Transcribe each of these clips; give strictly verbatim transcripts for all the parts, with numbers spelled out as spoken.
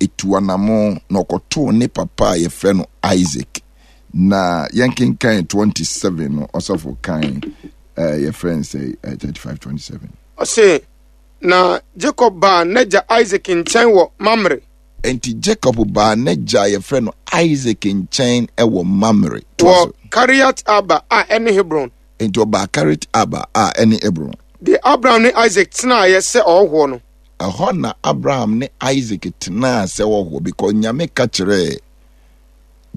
etu anamo na ɔkɔtoo ne papa a yɛfrɛ no Isaac. Na yɛnkenkan twenty-seven no, ɔsɔfo kan eh, yɛfrɛ no sɛ eh, thirty-five twenty-seven. Ɔse, na Jacob baa n'agya Isaac nkyɛn wɔ Mamre. Enti Jacob baa n'agya a yɛfrɛ no Isaac nkyɛn wɔ Mamre. Wɔ Kariat Arba a ɛne Hebron. Enti ɔbaa Kariat Arba a ɛne Hebron. De Abraham ne Isaac tenaeɛ sɛ ɔhɔhoɔ no. Ɛhɔ na Abraham ne Isaac tenaa sɛ ɔhɔhoɔ, because Nyame ka kyerɛɛ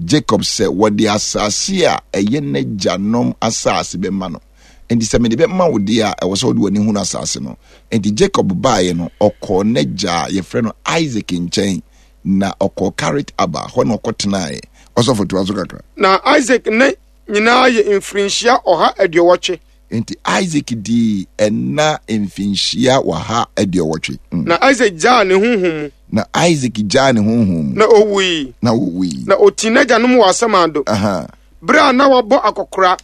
Jacob sɛ wɔde asase a ɛyɛ n'agyanom asase bɛma no. Enti sɛ mede bɛma wo deɛ a, ɛwɔ sɛ wode w'ani hunu asase no. Enti Jacob baeɛ no, ɔkɔɔ n'agya a yɛfrɛ no Isaac nkyɛn, na ɔkɔɔ Kariat Arba, hɔ na ɔkɔtenaeɛ. Ɔsɔfo, toa so kakra. Na Isaac ne nyinaa yɛ mfirinhyia ɔha aduɔwɔtwe. Enti Isaac dii ɛna mfinhyia ɔha aduɔwɔtwe. Mm. Na Isaac gyaa ne honhom mu. Na Isaac gyaa ne honhom mu. Na owui. Na owui. Na ɔtii n'agyanom wɔ asamando. Aha. Berɛ a na wabɔ akɔkora.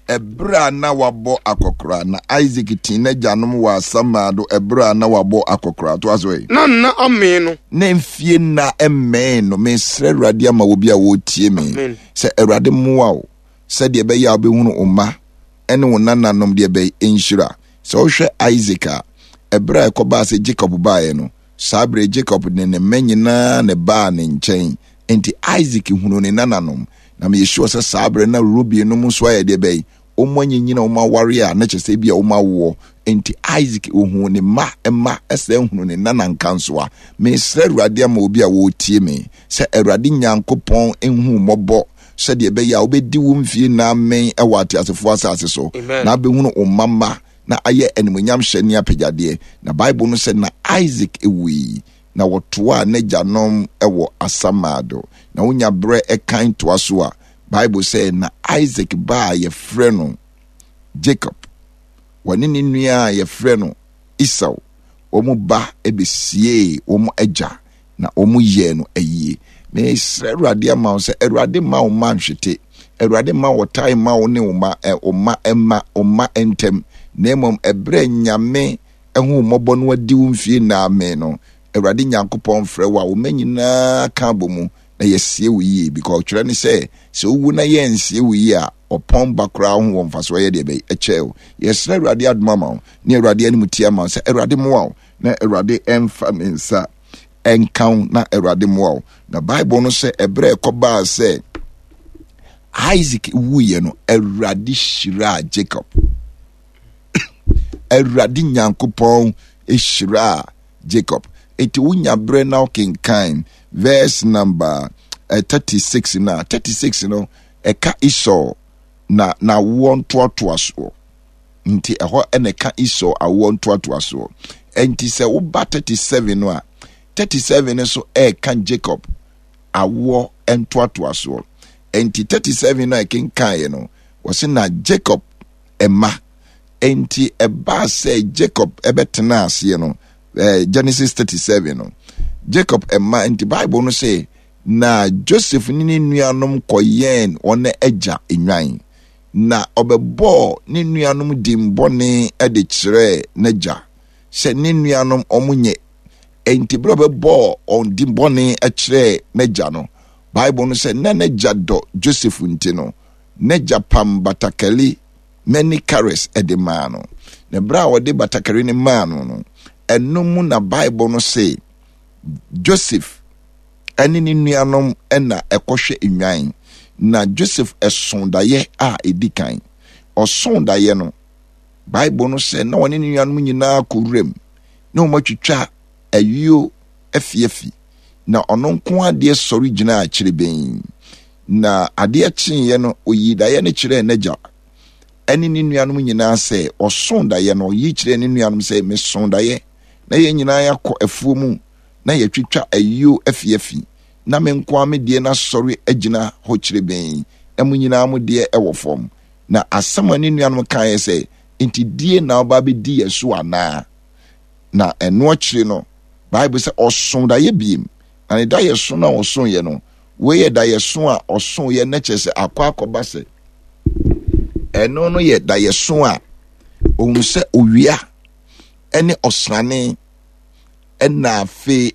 Ɛberɛ a na wabɔ akɔkora. Na Isaac tii n'agyanom wɔ asamando ɛberɛ a na wabɔ akɔkora. To aso yi. Na nna amee no. Na mfie nna mmɛn no. Mesrɛ Awurade ama wo bi a wɔretie me. Amen. Sɛ Awurade mmoa wo sɛdeɛ ɛbɛyɛ a wobɛhunu wo mma ɛne wo nananom deɛ ɛbɛyɛ nhyira. Sɛ wohwɛ Isaac a, ɛberɛ a ɛkɔbaa sɛ Jacob baeɛ no, saa berɛ Jacob ne ne mma nyinaa ne baa ne nkyɛn. Enti Isaac hunu ne nananom. Na meyɛ sure sɛ saa berɛ na Reuben nom nso ayɛ deɛ bɛyɛ. Wɔn anyinyina, wɔn aware a, na kyerɛ sɛ ebi a wɔn awoɔ. Enti Isaac ohuu ne mma mma ɛsɛ hunu ne nana nkansoa. Mesrɛ Awurade ama obi a wɔretie me sɛ Awurade Nyankopɔn nhu mmɔbɔ sɛdeɛ ɛbɛyɛ a wobɛdi wo mfie nna amen ɛwɔ ateasefoɔ asase so. Amen. Na abɛhunu wo mma mma na ayɛ animuonyam hyɛ ne apagyadeɛ. Na Bible no sɛ na Isaac ewui na wɔtoaa n'agyanom ɛwɔ asamado. Na wonya berɛ ɛkan toa so a, Bible sɛ na Isaac ba a yɛfrɛ no Jacob, wɔne ne nua a yɛfrɛ no Esau, wɔn ba bɛsiee wɔn agya na wɔn yɛɛ no ayie. Mesrɛ Awurade ama wo sɛ Awurade mma wo mma nhwete. Awurade mma wo tae mma wo ne wo mma, ɛ, wo mma mma, wo mma ntɛm. Na mmom ɛberɛ Nyame ɛho mmɔbɔ no adi wo mfie nna amen no, Awurade Nyankopɔn frɛ wo a wo mma nyinaa ka abɔ mu na yɛsie wo yie. Because ɔtwerɛ ne sɛ, sɛ wowu na yɛnsie wo yie a, ɔpɔn ba koraa ho wɔ mfasoɔ yɛ deɛ bɛyɛ ɛkyɛ wo. Yɛsrɛ Awurade adom ama wo ne Awurade anim tie ama wo sɛ Awurade mmoa wo na Awurade ɛmfa ne nsa ɛnka wo na Awurade mmoa wo. Na Bible no sɛ ɛberɛ ɛkɔbaa sɛ Isaac wuiɛ no, Awurade hyiraa Jacob. Awurade Nyankopɔn hyiraa Jacob. Enti wonya berɛ na wokenkan verse number eh, thirty-six na thirty-six no ɛka Esau na n'awoɔ ntoatoasoɔ. Nti ɛhɔ ɛna ɛka Esau awoɔ ntoatoasoɔ. Enti sɛ woba thirty-seven no a, thirty-seven no nso ɛka Jacob awoɔ ntoatoasoɔ. Enti thirty-seven no a ɛkenkaeɛ no, wɔse na Jacob ɛma. Enti ɛbaa sɛ Jacob ɛbɛtena aseɛ no, eh, Genesis thirty-seven no, Jacob ɛma. Enti Bible no sɛ na Joseph ne ne nuanom kɔyɛn wɔn agya nnwan, na ɔbɛbɔɔ ne nuanom din bɔne de kyerɛɛ n'agya sɛ ne nuanom ɔmo nyɛ. Enti bere a ɔbɛbɔɔ wɔn din bɔne kyerɛɛ n'agya no, Bible no sɛ na n'agya dɔ Joseph nti no, n'agya pam batakari many colours de maa no. Na bere a ɔde batakari no maa no no, ɛno mu na Bible no se Joseph ɛne ne nuanom na ɛkɔhwɛ nnwan. Na Joseph ɛso daeɛ a ɛdi kan. Ɔso daeɛ no, Bible no sɛ na ɔne ne nuanom nyinaa kɔ wuram na wɔn atwitwa ayuo afiafi. Na ɔno nko adeɛ sɔre gyinaa akyire bɛn. Na adeɛ kyeeɛ no, oyii daeɛ no kyerɛɛ n'agya ɛne ne nuanom nyinaa sɛ ɔso daeɛ no, ɔyi kyerɛɛ ne nuanom sɛ meso daeɛ na yɛn nyinaa yɛakɔ afuo mu na yɛtwitwa ayuo afiafi, na me nko ara me deɛ no asɔre agyina hɔ kyerɛ bɛn, na mo nyinaa mo deɛ ɛwɔ fam. Na asɛm a ne nuanom kaeɛ sɛ, enti die na ɔba bɛdi yɛn so anaa? Na ɛno akyire no, Bible sɛ ɔso daeɛ biem. Na ne daeɛ so no a ɔsoeɛ no, wei yɛ daeɛ so a ɔsoeɛ na kyerɛ sɛ akɔ akɔba sɛ ɛno no yɛ daeɛ so a ohunu sɛ owia ɛne ɔsrane ɛna afei